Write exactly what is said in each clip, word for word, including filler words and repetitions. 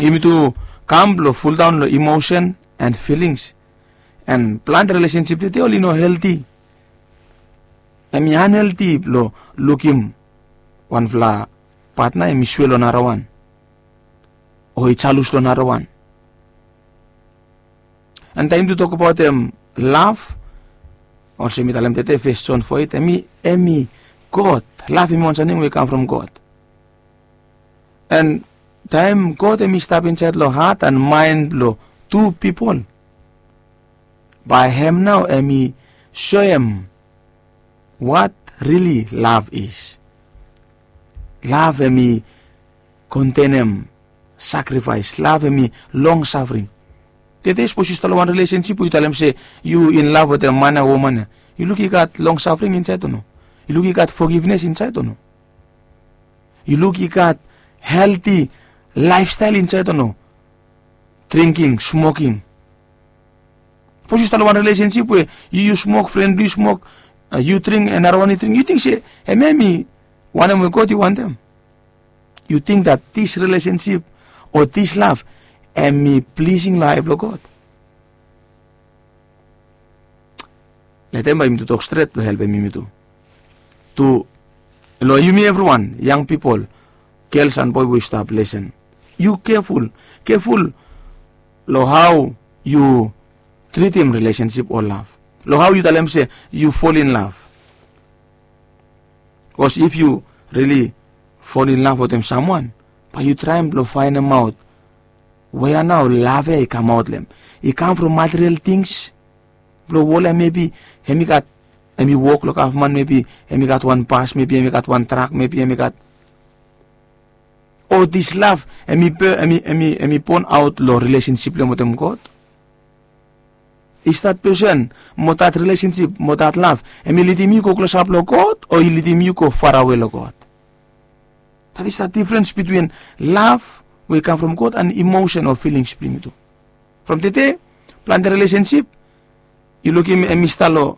yumi tu kam blong fuldaon long emotion and feelings. And planti relationship tede oli no healthy. Em i unhealthy blong lukim wanfala patna em i swe long narawan o i jalus long narawan. And taem tu tokbaot em love, olsem mi talem tede fes jon fo eit, em i em i god. Love em i wan samting we i kam from god. And taem god em i stap insaed long hat and maen blong tu pipol, bae hem nao em i soem wat rili love is. Love em i kontenem sakrifaes. Love em i long safring. Tede sapos yu stap long wan relationship we yu talem se yu in love wetem man ya woman ya, yu luk i gat long safring insaed o no? Yu luk i gat fogivnes insaed o no? Yu luk i gat helti laefstael insaed o no? Dringking, smoking. Sapos yu stap long wan relationship we yu yu smok, fren blong yu smok, yu dring, narawan i dring, yu ting se em ya em i wanem we god i wantem? Yu ting dat dis relationship o dis love em i plising long ai blong god? Letem bae yumi tu tok stret blong helpem yumi tu. Tu long yumi evriwan, yang pipol, gels and boe we yu stap lesen, yu keful, keful long hao yu tritim relationship o love, long hao yu talem se yu fol in love. Bikos if yu rili fol in love wetem samwan, bae yu traem blong faenemaot wea nao love ya i kamaot long hem. I kam from material tings blong wol ya, mebi hem i gat, hem i wok long gavman, mebi hem i gat wan bas, mebi hem i gat wan trak, mebi hem i gat, o dis love em i be em i em i em i bon aot long relationship blong hem wetem god? Is dat pesen mo dat relationship mo dat love em i lidim yu go klosap long god o i lidim yu go farawe long god? Dat is dat difrens bitwin love we i kam from god and emotion o filings blong yumi tu. From tede, plante relationship yu lukim em i stap long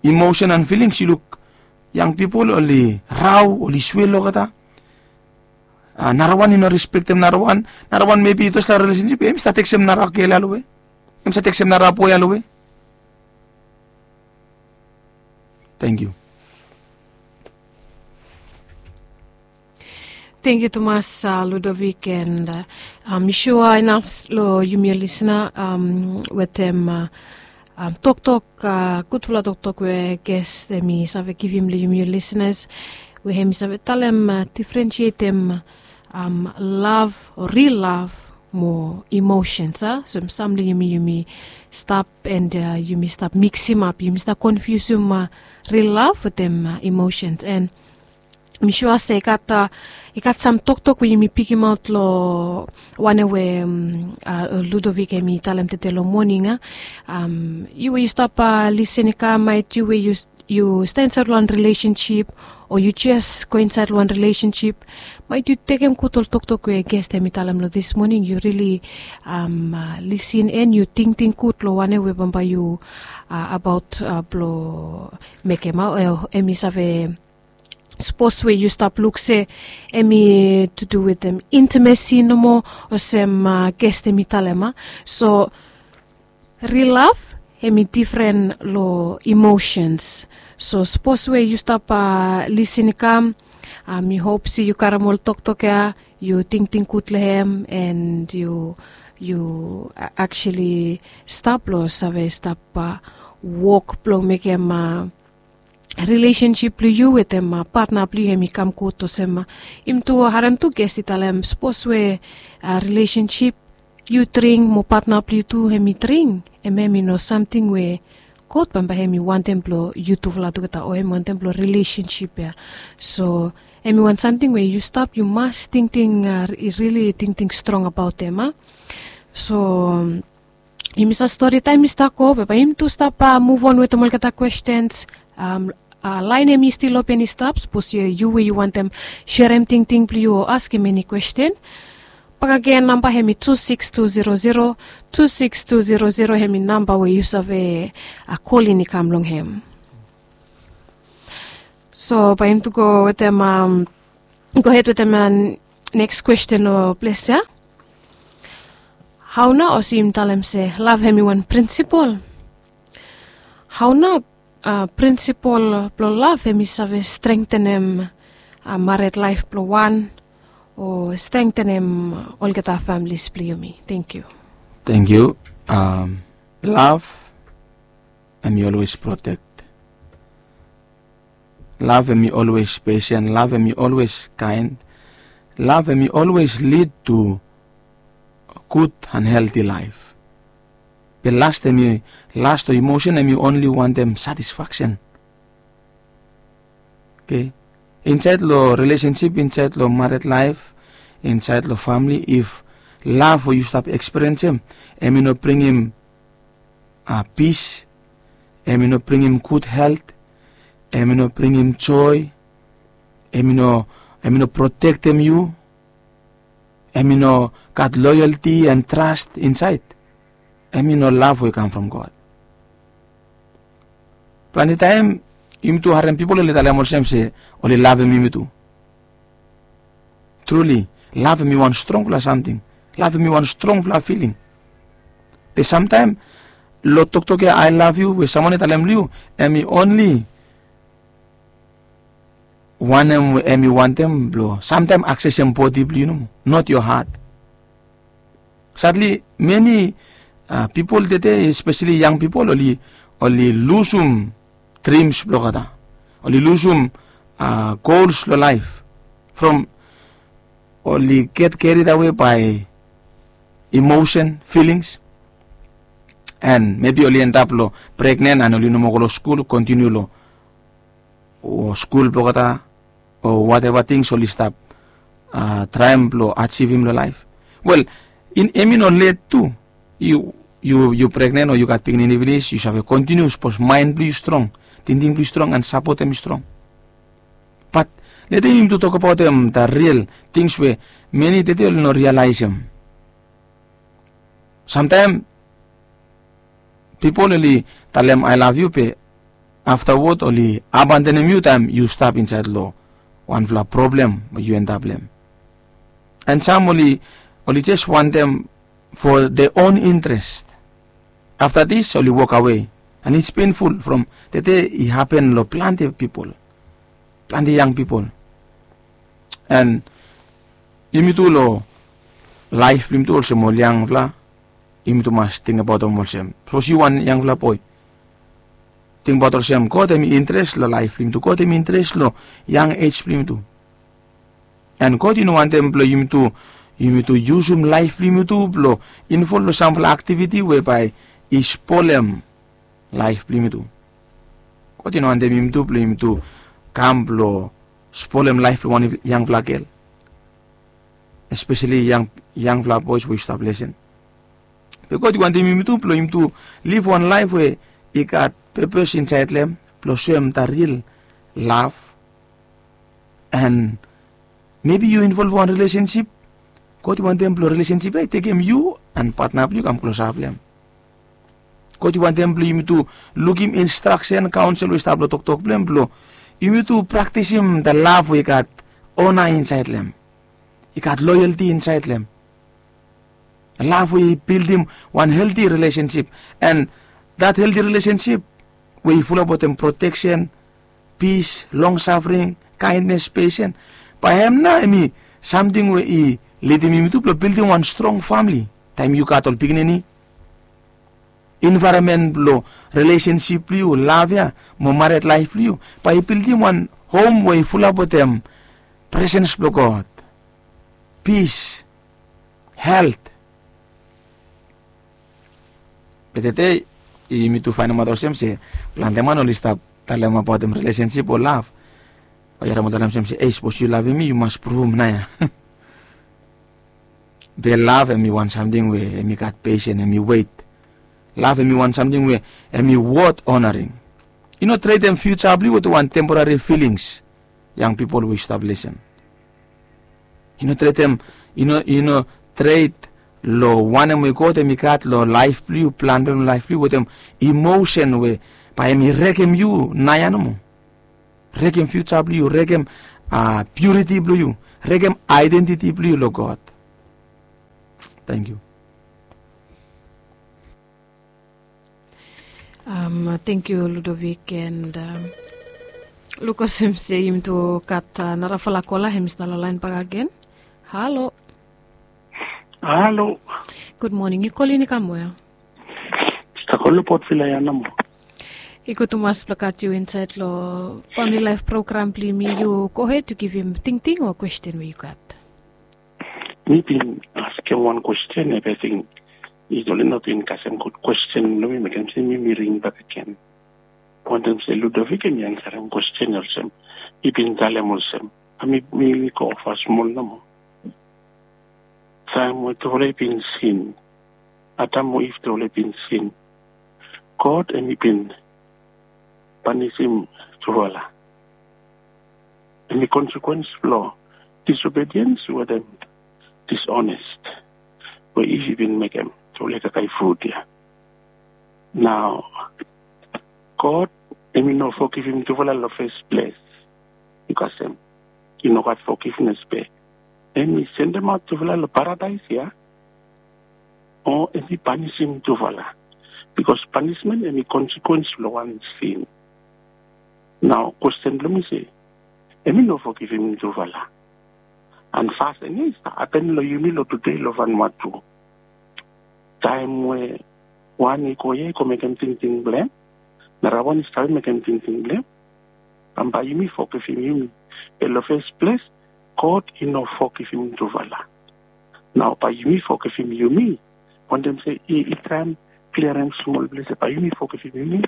emotion and filings. Yu luk yang pipol oli rao, oli swel olgeta. Narawan i no respektem narawan. Narawan mebi i tos long relationship em i stap teksem nara gel ya long we em i stap teksem nara boe ya long we. Tengkiu. Tengkiu tumas, Ludovik, and mi sua inaf long yumi ol lisna wetem toktok, gudfala toktok we ges em i save givim long yumi ol lisnas, we em i save talem, difrensietem lav o ril lav mo emosens, a? So em sam long yumi, yumi stap and yumi stap miksimap, yumi stap konfiusim ril lav wetem emosens. And mi sua se i gat, i gat sam toktok we yumi pikimaot long wanem we Ludovik em i talem tede long moning, a? Yu we yu stap lisin i kam, maet yu we yu yu stap insaed long wan rilesensip o yu jes go insaed long wan rilesensip, maet yu tekem gud ol toktok we ges em i talem long dis moning, yu rili lisin and yu tingting gud long wanem we bambae yu abaot blong mekem, a? Em i save, sapos we yu stap luk se em i to do wetem intimacy nomo, olsem ges em i talem, a? So ril lav em i difren long emosens. So sapos we yu stap lisin i kam, mi hop se yu karem ol toktok ya, yu tingting gud long hem, and yu, yu actually stap long save stap wok blong mekem rilesensip blong yu wetem patna blong yu em i kam gud, olsem yumi tu harem tu ges i talem, sapos we rilesensip yu dring mo patna blong yu tu em i dring, em em i no samting we God bambae em i wantem blong yutufala tugeta o em i wantem blong rilesensip ya. So em i wan samting we yu stap, yu mas tingting, rili tingting strong abaot em, a? So yumi save stori, taem i stap go, be bae yumi tu stap muvon wetem olgeta kwestens. Laen em i stil open i stap, sapos yu we yu wantem serem tingting blong yu o askem eni kwesten. Bakegen namba em i tu sikis tu zero zero, tu sikis tu zero zero, em i namba we yu save kolin i kam long em. So bae yumi tu go wetem, gohed wetem neks kwesten o ples ya. Hau nao olsem yumi talem se lav hem i wan prinsipol? Hau nao prinsipol blong lav hem i save strengtenem mared laef blong wan o strengtenem olgeta familis blong yumi? Tengiu. Tengiu. Lav hem i olwes protek. Lav hem i olwes pesen. Lav hem i olwes kaen. Lav hem i olwes lid tu gud an helti laef. Be last hem i last o imosen hem i onli wantem satisfaksen. Oke. Insaed long rilesensip, insaed long mared laef, insaed long famili, if lav we yu stap ekspiriensem hem i no bringim pis, hem i no bringim gud helt, hem i no bringim joe, hem i no protektem yu, hem i no gat loyalti an tras insaed, hem i no lav we i kam from God. Plante taem yumi tu harem pipol oli talem olsem se oli lavem yumi tu. Truli, lav hem i wan strongfala samting. Lav hem i wan strongfala filing. Be samtaem long toktok ya, "I love you" we samwan i talem long yu, hem i onli wanem we hem i wantem blong samtaem aksesem bodi blong yu nomo, not yo hat. Sadli meni pipol tede, espeseli yang pipol, oli lusum drims blong olgeta. Oli lusum gols long laef from oli get carried away by emosen, filings, an mebi oli endap long pregnen an oli no moa go long skul, kontiniu long skul blong olgeta o wateva tings oli stap traem blong ajivim long laef. Wel, hem i no let tu. Yu pregnen o yu gat pikinini finis, yu save kontiniu sapos maen blong yu strong, tingting blong yu strong an sapotem i strong. Bat leta yumi tu tokbaotem da ril tings we meni tede oli no rialaesem. Samtaem pipol oli talem "I love you" be aftawod oli abandonem yu taem yu stap insaed long wanfala problem we yu endap long hem. An sam oli jes wantem for their own interest. Afta dis oli wokawe. An it's painful from tede i hapen long plante pipol, plante yang pipol. An yumi tu long laef blong yumi tu olsem ol yangfala, yumi tu mas tingbaotem olsem, sapos yu wan yangfala boe, tingbaot olsem God hem i interes long laef blong yumi tu. God hem i interes long yang ej blong yumi tu. An God i no wantem blong yumi tu, yumi tu yusum laef blong yumi tu blong invol long samfala aktiviti we bae i spolem laef blong yumi tu. God i no wantem yumi tu blong yumi tu kam blong spolem laef blong wan yangfala gel, espeseli yangfala boes we yu stap lesen. Be God i wantem yumi tu blong yumi tu liv wan laef we i gat pepes insaed long hem blong soem da ril lav. An mebi yu involv wan rilesensip. God i wantem blong rilesensip ya i tekem yu an patna blong yu kam klosap long hem. God i wantem blong yumi tu lukim instraksen, kaonsel we i stap long toktok blong hem blong yumi tu praktisim da lav we i gat ona insaed long hem, i gat loyalti insaed long hem. Lav we i bildim wan helti rilesensip. An dat helti rilesensip we i fulap wetem proteksen, pis, longsafring, kaendnes, pesen, bae hem nao hem i samting we i lidim yumi tu blong bildim wan strong famili. Taem yu gat ol pikinini, envaeronmen blong rilesensip blong yu, lav ya mo mared laef blong yu, bae i bildim wan hom we i fulap wetem presens blong God, pis, helt. Be tede yumi tu faenemaot olsem se plante man oli stap talemaot abaotem rilesensip o lav. Bae yu harem ol talem olsem se, "Ei, sapos yu lavem mi, yu mas pruvum nao ya." Be lav hem i wan samting we hem i gat pesen, hem i wet. Lav hem i wan samting we hem i wot onaring. I no tredem fiuja blong yu wetem wan temporari filings. Yang pipol we yu stap lesen, i no tredem, i no tred long wanem we God hem i gat long laef blong yu, plan blong hem long laef blong yu wetem imosen we bae hem i rekem yu nao ya nomo. Rekem fiuja blong yu, rekem piuriti blong yu, rekem aedentiti blong yu long God. Tangkiu. Tengkiu Ludovic and luk olsem se yumi tu gat narafala kola hem i stap long laen bakegen. Halo. Halo. Gud moning, yu kolin i kam wea? Stap kolin long Port Vila ya nomo. I gud tumas blong gat yu insaed long famili laef program blong yumi. Yu gohed yu givim tingting o kwesten we yu gat. Mi bin askem wan kwesten ya be ating i toli no bin kasem gud kwesten blong mi mekem se mi mi ring bak agen. Wantem se Ludovic em i ansarem kwesten ya olsem i bin talem olsem a mi mi go ofa smol nomo. Taem we tufala i bin sin, Adam mo Iv tufala i bin sin, God em i bin panisim tufala. Em i konsekwens blong disobediens wetem disonest we Iv i bin mekem tufala i kakae frut ya. Nao God em i no fogivim tufala long fes ples. Bikos em i no gat fogivnes be em i sendemaot tufala long paradaes ya o em i panisim tufala. Bikos panismen em i konsekwens blong wan sin. Nao kwesten blong mi se em i no fogivim tufala. An fas eni i stap hapen long yumi long tude long vanua tu. Taem we wan i go ya i go mekem tingting blong em, narawan i stap mekem tingting blong em, bambae yumi fogivim yumi. Be long fes ples God i no fogivim tufala. Nao bae yumi fogivim yumi. Wantem se i traem kliarem smol ples ya bae yumi fogivim yumi.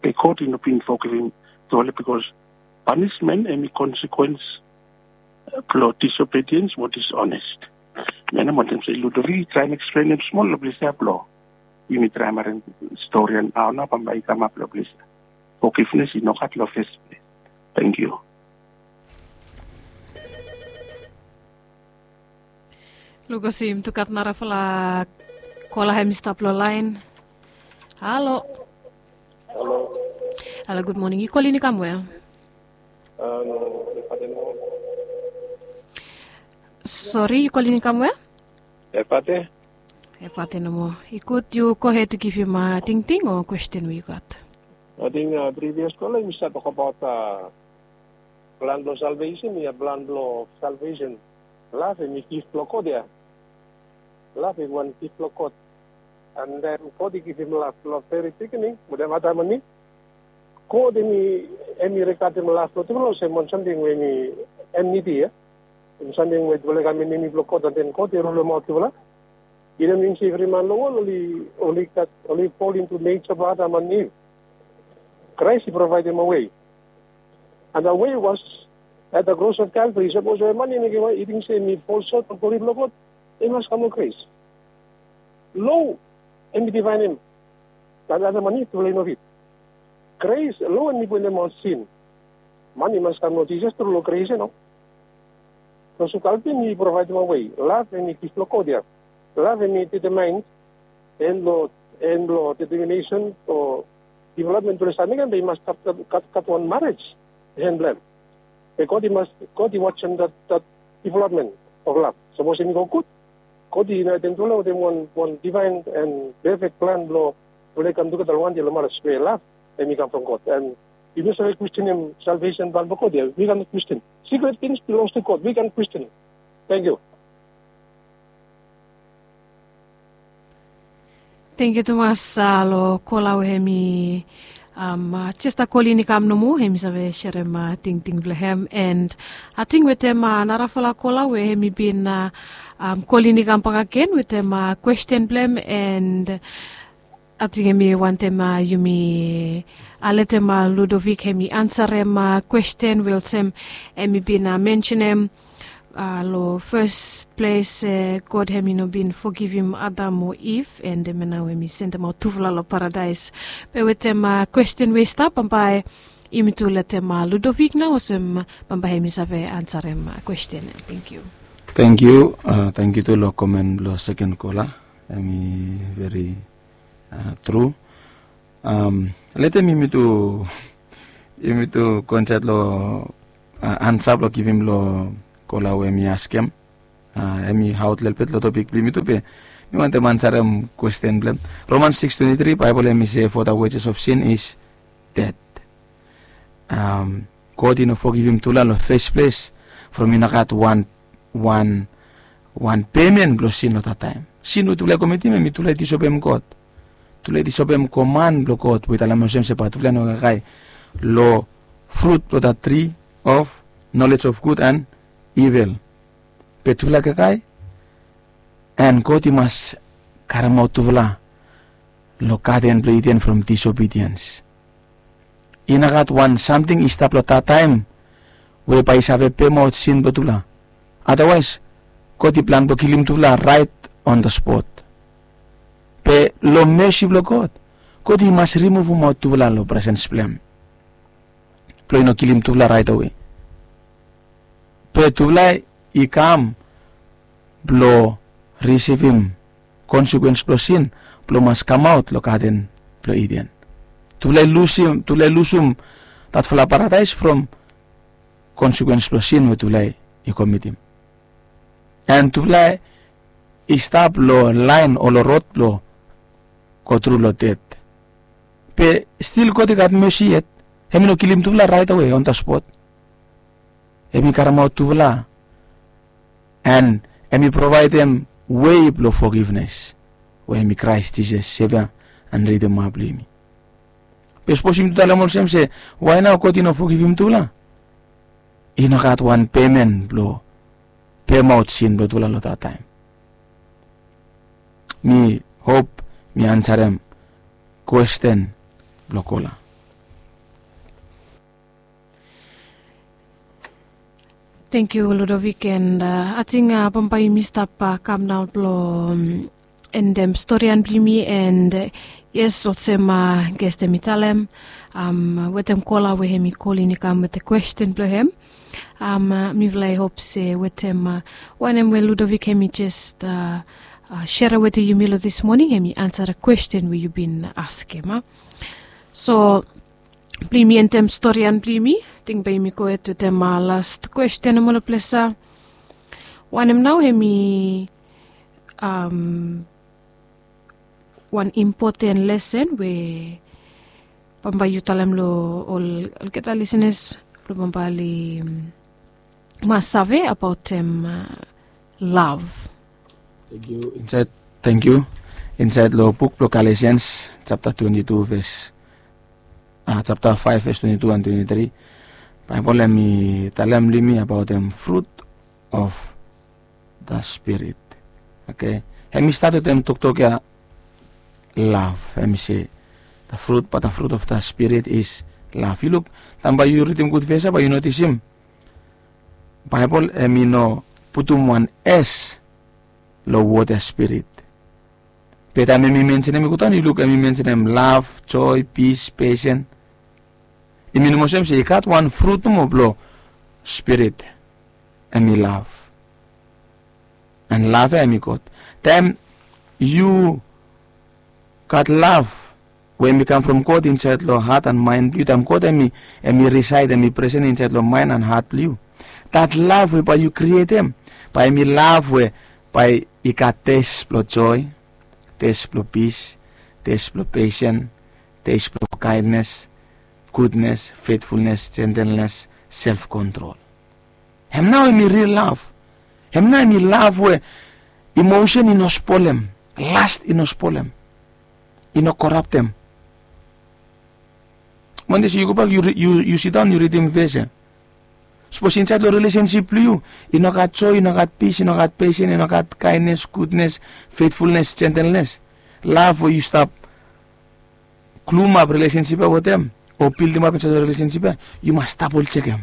Be God i no bin fogivim tufala bikos panismen em i konsekwens blong disobediens mo disonest. Menem wantem se Ludovic i traem eksplenem smol long ples ya blong yumi traem harem stori ya nao nao bambae i kamap long ples ya. Fogivnes i no gat long fes ples. Tengkiu. Luk olsem yumi tu gat narafala kola hem i stap long laen. Halo. Halo. Halo, gud moning, yu kolin i kam wea? Sori, yu kolin i kam wea? Efate. Efate nomo. I gud yu gohed yu givim tingting o kwesten we yu gat. Ating privios kola yumi save tokabaot plan blong salvesen ya, plan blong salvesen. Lav em i gif blong God ya. Lav em i wan gif blong God. An taem God i givim lav long veri bigining wetem Adam an Iv, God em i em i regadem lav blong tufala olsem wan samting we em i enmiti ya. Em samting we tufala i kam enemi blong God an den God i rulemaot tufala. I no min se evri man long wol oli oli gat oli fol intu neja blong Adam an Iv. Kraes i provaedem a wei. And the way was at the cross of Calvary. Sapos we man i mekem i ting se mi fol sot long glori blong God, i mas kam long grace. Lo em i divaenem. Tale Adam an Iv tufala i no fit. Grace, lo em i puenem ol sin. Man i mas kam long Jisas tru long grace ya no. Long sukal bin i provaedim a wei. Lav em i gif blong God ya. Lav em i determaen en long en long determinesen o developmen blong i save mekem be i mas gat gat wan marej. Hen blong em. Be God i mas God i wajem dat dat developmen of lav. Sapos em i go gud, God i unitem tufala wetem wan wan divaen en pefek plan blong tufala i kam tugeta long wande long marej we lav em i kam from God. An yumi no save kwestenem salvesen plan blong God ya. Wi kano kwestin. Secret things belongs to God. Wi kano kwestin. Tengkiu. Tengkiu tumas long kola we hem i jes a kolin i kam nomo hem i save serem tingting blong hem. And ating wetem narafala kola we hem i bin kolin i kam bak agen wetem kwesten blong hem. And ating hem i wantem yumi letem Ludovic hem i ansarem kwesten we olsem hem i bin mensenem long fes ples God hem i no bin fogivim Adam o Iv, and hemia nao hem i sendemaot tufala long paradaes. Be wetem kwesten we i stap bambae yumi tu letem Ludovic nao olsem bambae hem i save ansarem kwesten ya. Tengkiu. Tengkiu. Tengkiu tu long komen blong seken kola. Hem i veri tru. Letem yumi tu yumi tu go insaed long ansa blong givim long kola we mi askem. Em i aot lelebet long topik blong yumi tu be mi wantem ansarem kwesten blong em. Romans six twenty three Baibel em i se, for the wages of sin is death. God i no fogivim tufala long fes ples from i no gat wan wan wan pemen blong sin long dat taem. Sin we tufala i komitim em i tufala i disobem God. Tufala i disobem koman blong God we i talem olsem se bae tufala i no kakae long frut blong dat tri of knowledge of good and evil. Be tufala i kakae, and God i mas karemaot tufala long gaden blong Iden from disobediens. I no gat wan samting i stap long dat taem we bae i save pemaot sin blong tufala. Adawaes God i plan blong kilim tufala raet on the spot. Be long mesi blong God, God i mas rimuvumaot tufala long presens blong em blong i no kilim tufala raet awe. Be tufala i kam blong risivim konsekwens blong sin blong mas kamaot long gaden blong Iden. Tufala i lusum tufala i lusum datfala paradaes from konsekwens blong sin we tufala i komitim. And tufala i stap long laen o long rod blong go tru long ded. Be stil God i gat mesi yet. Em i no kilim tufala raet awe on the spot. Em i karemaot tufala and em i provaedem wei blong fogivnes we em i Kraes Jisas, Sevia and Ridima blong yumi. Be sapos yumi tu talem olsem se, wae nao God i no fogivim tufala? I no gat wan pemen blong pemaot sin blong tufala long dat taem. Mi hop mi ansarem kwesten blong kola. Thank you, Ludovic, and ating bambae yumi stap kam nao blong endem storian blong yumi. And yes, olsem gestem i talem, wetem kola we hem i kolin i kam wetem kwesten blong hem. Mifala i hop se wetem wanem we Ludovic hem i jes serem wetem yumi long dis moning, hem i ansa kwesten we yu bin askem. So blong yumi endem storian blong yumi, ting bae yumi go hed wetem las kwesten em ol ples. Wanem nao hem i wan impoten lesen we bambae yu talem long ol olgeta lisenas blong bambae oli mas save abaotem lav. Tangkiu. Insaed long buk blong Galesians japta twenti tu ves japta faef ves twenti tu and twenti tri, Baebol hem i talem long yumi abaotem frut of the Spirit. Oke. Hem i stat wetem toktok ya, lav. Hem i se the fruit, but the fruit of the Spirit is love. Yu luk, taem bae yu ridim gud ves ya bae yu notisim Baebol hem i no putum wan S long wod ya spirit. Be taem hem i mensenem i godaon, yu luk hem i mensenem lav, joe, pis, pesen. I minim olsem se i gat wan frut nomo blong spirit, hem i lav. And lav ya hem i God. Taem yu gat lav we hem i kam from God insaed long hat and maen blong yu, taem God hem i risaed, hem i presen insaed long maen and hat blong yu, dat lav we bae yu krietem bae hem i lav we bae i gat tes blong joe, tes blong pis, tes blong pesen, tes blong kaendnes, gudnes, fetfulnes, jentelnes, self kontrol. Hem nao hem i ril lav. Hem nao hem i lav we imosen i no spolem, last i no spolem, i no koraptem. Mande se yu gobak, yu sidaon yu ridim ves ya. Sapos insaed long rilesensip blong yu i no gat joe, i no gat pis, i no gat pesen, i no gat kaendnes, gudnes, fetfulnes, jentelnes, lav we yu stap klumap rilesensip ya wetem o bildimap insaed long rilesensip ya, yu mas dabol jekem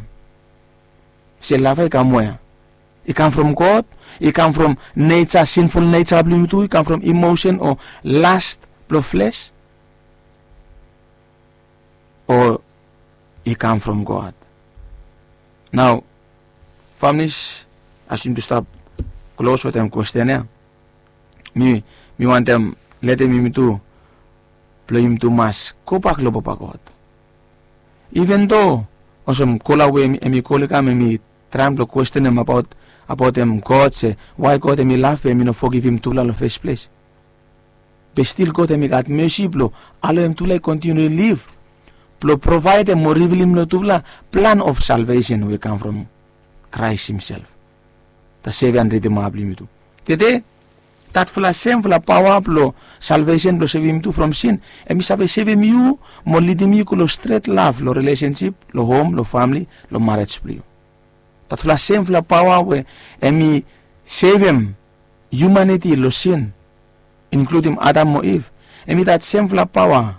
se lav ya i kam wea? I kam from God? I kam from neja, sinful neja blong yu tu? I kam from imosen o last blong fles? O i kam from God? Nao, familis, as yumi tu stap klos wetem kwesten ya, mi wantem letem yumi tu blong yumi tu mas gobak long Papa God. Iven do olsem kola we hem i kol i kam, hem i traem blong kwestenem abaot abaotem God se wai God hemi lav be hemi no fogivim tufala long fes ples. Be stil God hemi gat mesi blong aloem tufala i kontiniu liv blong provaedem o rivilim long tufala plan of salvesen we i kam from Kraes himself. Taseve an ridima blong yumi tu tede, datfala semfala paoa blong salvesen blong sevem yumi tu from sin, hemi save sevem yu mo lidim yu go long stret lav long rilesensip, long hom, long famle, long marej blong yu. Datfala semfala paoa we hemi sevem hiumaniti long sin, inkludim Adam mo Iv, hemi dat semfala paoa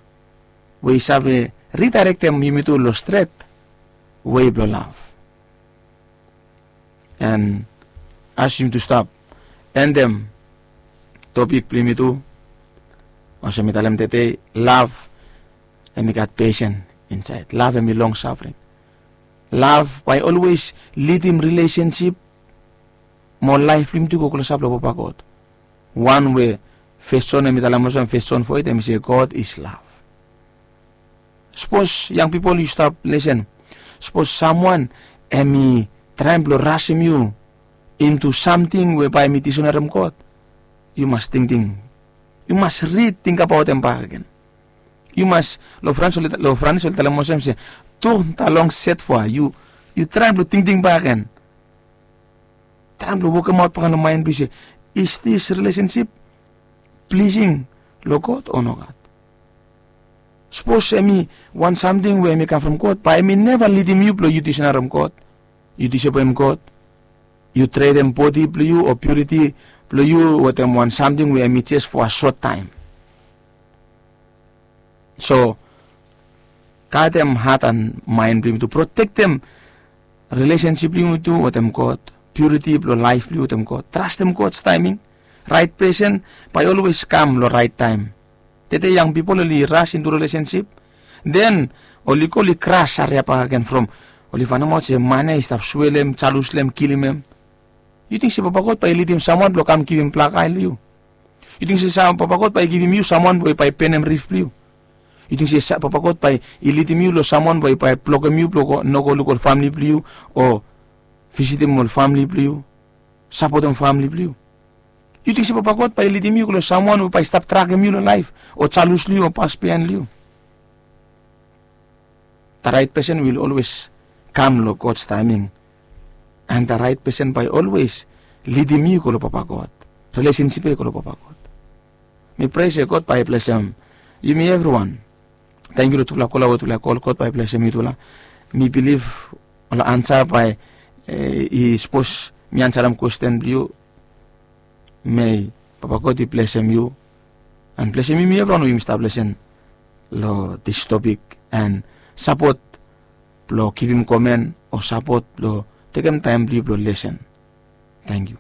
we i save ridaerektem yumi tu long stret wei blong lav. An as yumi tu stap endem topik blong yumi tu, olsem mi talem tede, lav hemi gat pesen insaed. Lav hemi long safring. Lav bae olwes lidim rilesensip mo laef blong yumi tu i go klosap long Papa God. Wan we Fes Jon hemi talem olsem, Fes Jon fo eit, hemi se God is lav. Sapos yang pipol yu stap lesen, sapos samwan hemi traem blong rasem yu intu samting we bae hemi disonerem God, yu mas tingting, yu mas ritingbaotem bakegen. Yu mas, long Franis oli talem olsem se, tourne ta langue sept fois. Yu traem blong tingting bakegen, traem blong wokemaot bakegen long maen blong yu se, is this relationship pleasing long God o nogat? Sapos hemi wan samting we hemi kam from God, bae hemi neva lidim yu blong yu disonerem God, yu disobem God, yu tredem bodi blong yu o piuriti blong yu wetem wan samting we hemi jes fo a sot taem. So gadem hat an maen blong yumi tu, protektem rilesensip blong yumi tu wetem God, piuriti blong laef blong yu wetem God. Trastem God taeming. Raet pesen bae olwes kam long raet taem. Tede yang pipol oli ras intu rilesensip, den oli go oli kras hariap bakegen from oli faenemaot se man ya i stap swelem, jalus long hem, kilim hem. Yu ting se Papa God bae i lidim samwan blong kam givim blakae long yu? Yu ting se Papa God bae i givim yu samwan we bae i benem rif blong yu? Yu ting se Papa God bae i lidim yu long samwan we bae i blokem yu blong no go luk ol famle blong yu o visitim ol famle blong yu, sapotem famle blong yu? Yu ting se Papa God bae i lidim yu go long samwan we bae i stap drakem yu long laef o jalus long yu o pas biaen long yu? Da raet pesen will olwes kam long God taeming. An da raet pesen bae olwes lidim yu go long Papa God. Rilesensip ya i go long Papa God. Mi prea se God bae i blesem yumi evriwan. Tangkiu long tufala kola we tufala i kol. God bae i blesem yutufala. Mi bilif ol ansa bae i, sapos mi ansarem kwesten blong yu, mei Papa God i blesem yu an blesem yumi evriwan we yumi stap lesen long dis topik an sapot blong givim komen o sapot blong tekem taem blong yu blong lesen. Tangkiu.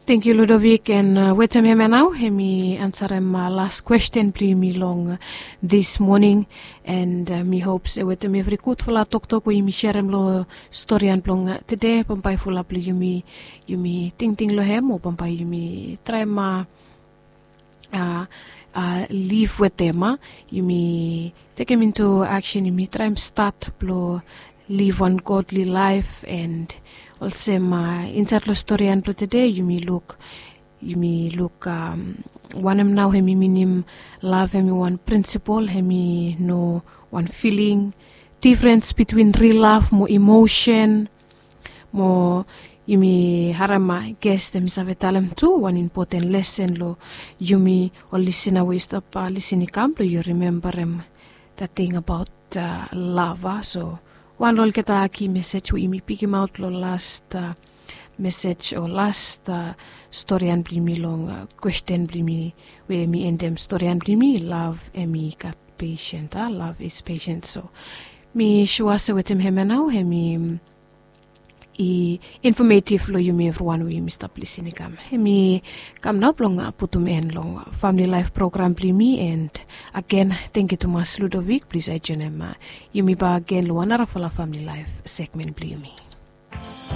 Tangkiu Ludovic, an wetem hemia nao hemi ansarem las kwesten blong yumi long dis moning. An mi hop se wetem evri gudfala toktok we yumi serem long storian blong tede, bambae fulap blong yumi, yumi tingting long hem o bambae yumi traem a liv wetem a yumi tekem intu aksen, yumi traem stat blong liv wan godli laef. An olsem insaed long storian blong tede yumi luk, yumi luk wanem nao hemi minim lav. Hemi wan prinsipol, hemi no wan filing, difrens bitwin ril lav mo emosen. Mo yumi harem a ges hemi save talem tu wan impoten lesen long yumi ol lisina we yu stap lisin i kam blong yu rimembarem dat ting abaot lav. So wan long olgeta ki mesej we yumi pikimaot long las mesej o las storian blong yumi long kwesten blong yumi we hemi endem storian blong yumi, lav hemi gat pesen, a lav is pesen. So mi sua se wetem hemia nao hemi i infometif long yumi evriwan we yumi stap lisin i kam. Hemi kam nao blong putum en long Famili Laef program blong yumi. An agen, tangkiu tumas Ludovic. Plis yu joenem yumi bak agen long wan narafala Famili Laef segmen blong yumi.